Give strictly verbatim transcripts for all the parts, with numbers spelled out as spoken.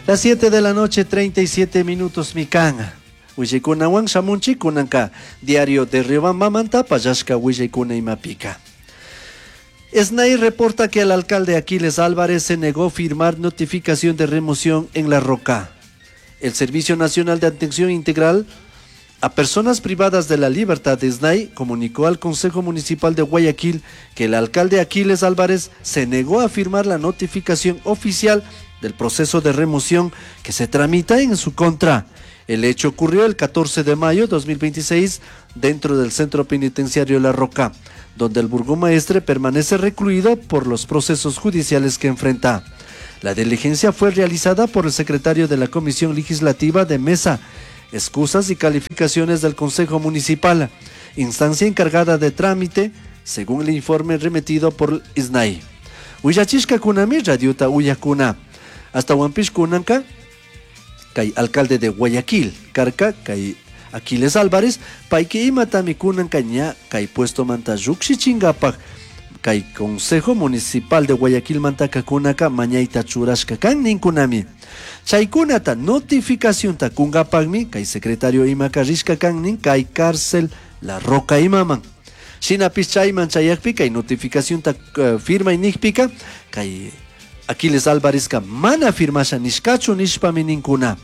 Las siete de la noche, treinta y siete minutos mikan. Willaykunawan shamunchik kunanka Diario de Riobambamanta pallashka willaykuna imapika. S N A I reporta que el alcalde Aquiles Álvarez se negó a firmar notificación de remoción en La Roca. El Servicio Nacional de Atención Integral a Personas Privadas de la Libertad de S N A I comunicó al Consejo Municipal de Guayaquil que el alcalde Aquiles Álvarez se negó a firmar la notificación oficial del proceso de remoción que se tramita en su contra. El hecho ocurrió el catorce de mayo de dos mil veintiséis dentro del centro penitenciario La Roca, donde el burgomaestre permanece recluido por los procesos judiciales que enfrenta. La diligencia fue realizada por el secretario de la Comisión Legislativa de Mesa, Excusas y Calificaciones del Consejo Municipal, instancia encargada de trámite, según el informe remitido por S N A I. Willachishkakunami radiota uyakuna. Ashtahuanpish kunanka, kay alcalde de Guayaquil, karka kay Aquiles Álvarez, payki imatami kunanka ña kay puesto manta llukshichinkapak kay Consejo Municipal de Guayaquil mantaka kunaka mañayta churashka kan ninkunami. Chaykunata notificacionta kunkapakmi kay secretario imaka rishka kan nin kay cárcel La Roca imaman. Shinapish chayman chayakpi kay notificacionta uh, firma nikpika kay Aquiles Álvarezka mana firmasha nishkachu nishpami ninkuna.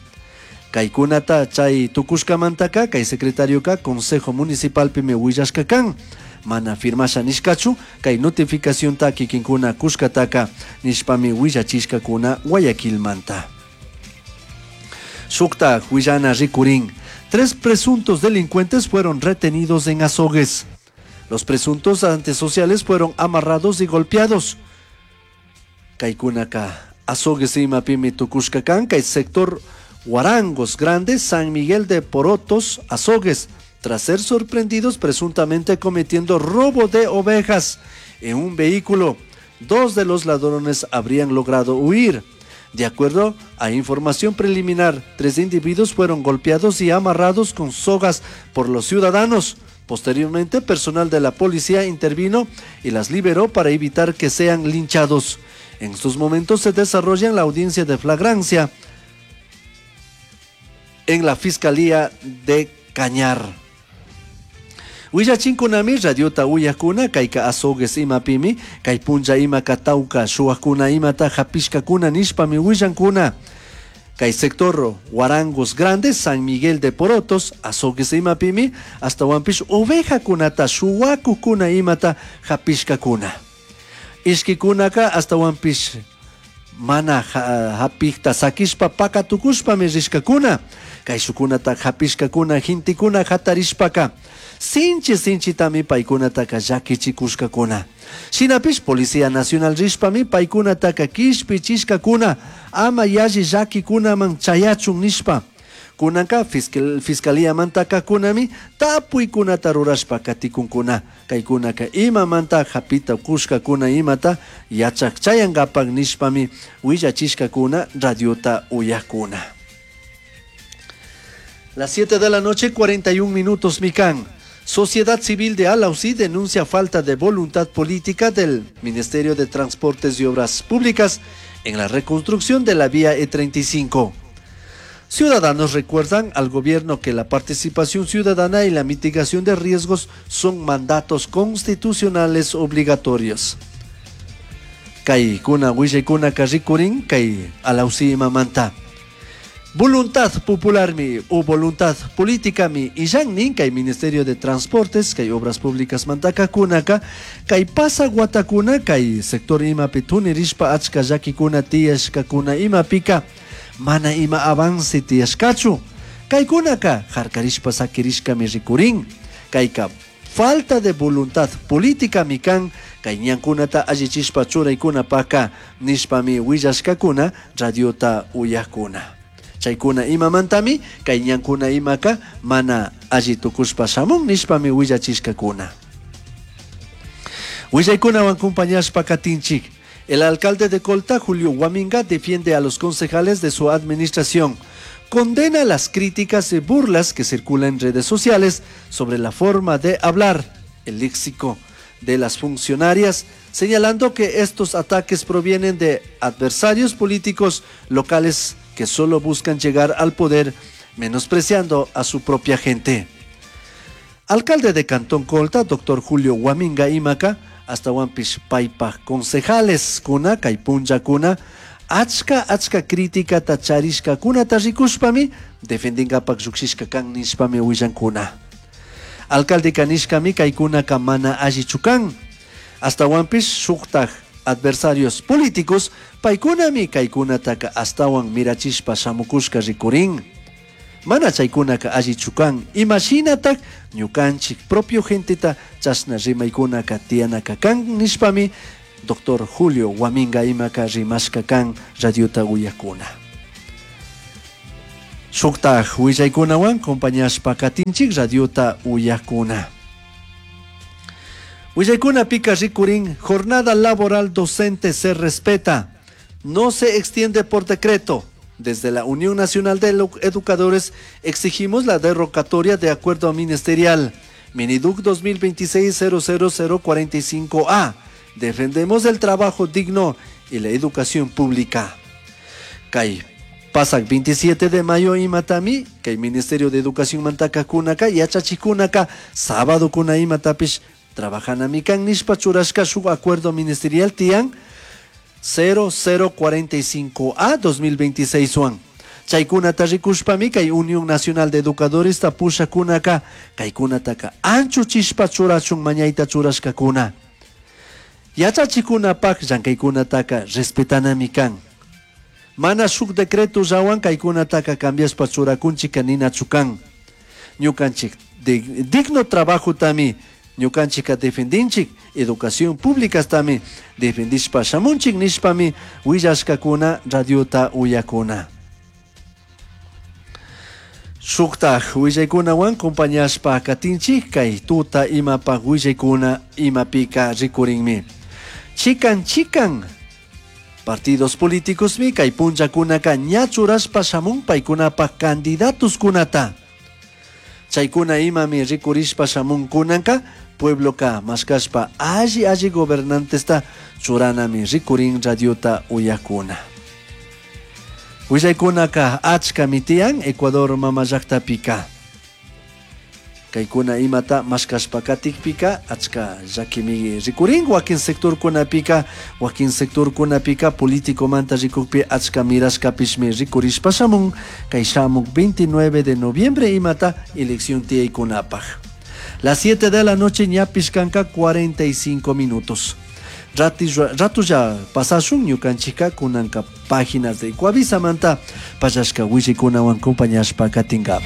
Kaykunata chay tukushkamantaka kay secretarioka Consejo Municipalpimi willashka kan. Mana firmasha nishkachu kay notificacionta kikinkuna kushkataka nishpami willachishkakuna Guayaquilmanta. Shukta willana rikurin. Tres presuntos delincuentes fueron retenidos en Azogues. Los presuntos antisociales fueron amarrados y golpeados. Kaykunaka Azogues imapimi tukushka kan kay sector Huarangos Grandes, San Miguel de Porotos, Azogues, tras ser sorprendidos presuntamente cometiendo robo de ovejas en un vehículo. Dos de los ladrones habrían logrado huir. De acuerdo a información preliminar, tres individuos fueron golpeados y amarrados con sogas por los ciudadanos. Posteriormente, personal de la policía intervino y las liberó para evitar que sean linchados. En estos momentos se desarrolla la audiencia de flagrancia en la Fiscalía de Cañar. Willachinkunami radiota uyakuna kayka Azogues imapimi kay punlla imaka tawka shuwakuna imata hapishkakuna nishpami willankuna. Kay sector Huarangos Grandes, San Miguel de Porotos, Azogues imapimi, ashtahuanpish ovejakunata shuwakukuna imata hapishkakuna. Ishkikunaka ashtahuanpish mana hapikta sakishpa pakatukushpami rishkakuna. Kay shukunata hapishkakuna gentekuna hatarishpaka sinchi sinchitami paykunataka llakichikushkakuna. Shinapish Policía Nacional rishpami paykunataka kishpichishkakuna ama yalli llakikunaman chayachun nishpa. Kunanka fiscal, fiscalía kunami tapuykunata rurashpa katikunkuna. Kaykunaka imamanta hapita kushkakuna imata yachak chayankapak nishpami willachishkakuna radiota uyakuna. Las siete de la noche, cuarenta y un minutos, mikan. Sociedad Civil de Alausí denuncia falta de voluntad política del Ministerio de Transportes y Obras Públicas en la reconstrucción de la vía E treinta y cinco. Ciudadanos recuerdan al gobierno que la participación ciudadana y la mitigación de riesgos son mandatos constitucionales obligatorios. Kay kuna kuna rikurin kay Alausí imamanta. Voluntad popular mi o voluntad política mi illan nin kay Ministerio de Transportes kay Obras Públicas mantaka kunaka kay pasa watakuna kay sector imapi tunirishpa achka llakikuna tiyashkakuna imapika mana ima avance tiyashkachu. Kaykunaka harkarishpa sakirishkami rikurin. Kayka falta de voluntad política mi kan kay ñankunata allichishpa churaykunapaka nishpami willashkakuna radiota uyakuna. Chaykuna imamantami kay ñankuna imaka mana alli tukushpa shamun nishpami willachishkakuna. Willaykunawan compañashpa katinchik. El alcalde de Colta, Julio Guaminga, defiende a los concejales de su administración. Condena las críticas y burlas que circulan en redes sociales sobre la forma de hablar, el léxico de las funcionarias, señalando que estos ataques provienen de adversarios políticos locales que solo buscan llegar al poder menospreciando a su propia gente. Alcalde de Cantón Colta, doctor Julio Guaminga imaka, ashtahuanpish paipaj concejales kuna, kay punllakuna, achka achka criticata charishkakunata rikushpami defendinkapak llukshishka kan nishpami willankuna. Alcalde nishkami kaykunaka mana allichu kan. Ashtahuanpish shuktaj adversarios políticos paykunami kaykunataka ashtawan mirachishpa shamukushka rikurin. Mana chaykunaka allichu kan. Imashinatak ñukanchik propio genteta chashna rimaykunaka tiyanaka kan nishpami doctor Julio Guaminga imaka rimashka kan radiota uyakuna. Shuktaj willaykunawan compañashpa katinchik radiota uyakuna. Willaykunapika rikurin, jornada laboral docente se respeta, no se extiende por decreto. Desde la Unión Nacional de Educadores exigimos la derogatoria de acuerdo ministerial Mineduc dos mil veintiséis cero cero cero cuarenta y cinco A. Defendemos el trabajo digno y la educación pública. Kay pasak veintisiete de mayo imatami, kay Ministerio de Educación mantaka kunaka, yachachikunaka, sábado kuna imatapish, trabajanami kan nishpa churashka shuk acuerdo ministerial tian cero cero cuarenta y cinco A dos mil veintiséis wan. Chaykunata rikushpami kay Unión Nacional de Educadores tapushakunaka, kaykunataka anchuchishpa churachun mañayta churashkakuna. Yachachikunapaj llankaykunataka respetanami kan. Mana shuk decreto llawan kaykunataka cambiashpa churakunchika ninachu kan. Ñukanchik digno trabajo tami ñukanchika defendinchik, educación pública tami defendishpa shamunchik nishpami willashkakuna radiota uyakuna. Shuktaj willaykunawan compañashpa katinchik kay tuta imapaj willaykuna imapika rikurinmi. Chikan chikan partidos políticos mi kay punllakunaka ña churashpa shamun paykunapaj candidatos kunata. Chaykuna imami rikurishpa shamun kunanka puebloka mashkashpa alli alli gobernantesta churanami rikurin radiota uyakuna. Willaykunaka achkami tiyan Ecuador mama llaktapika. Kaykuna imata mashkashpa katikpika achka llakimi rikurin wakin sectorkunapika, wakin sectorkunapika políticomanta rikukpi achka mirashkapishmi rikurishpa shamun kay shamuk veintinueve de noviembre imata elección tiyaykunapaj. Las siete de la noche ñapish kanka cuarenta y cinco minutos. Rati, rato ya pasashun ñukanchika kunanka páginas de Ecuavisa manta pallashka willaykunawan compañashpa katingapa.